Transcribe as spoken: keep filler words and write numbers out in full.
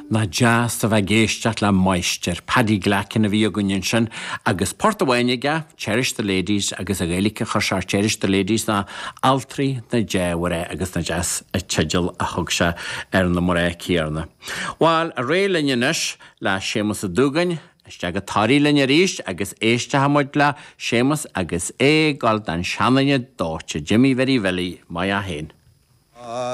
Nach deas a bheith ag éisteacht le máistir, Paddy Glackin a bhí againn ansin, agus port amháin aige, Cherish the Ladies agus an Ghaeilge a chuir sé ar Cherish the Ladies ná Altraí na Dea-Mhná agus nach deas an teideal a thug sé ar na mná céanna. Bhuel, ar aghaidh linn anois le Séamus Ó Dúgáin, Isteach go Toraigh linn arís agus éistfidh muid le Séamus agus é ag gabháil don seanduine dóite, Jimmy Mhary Bhilly, maith é féin.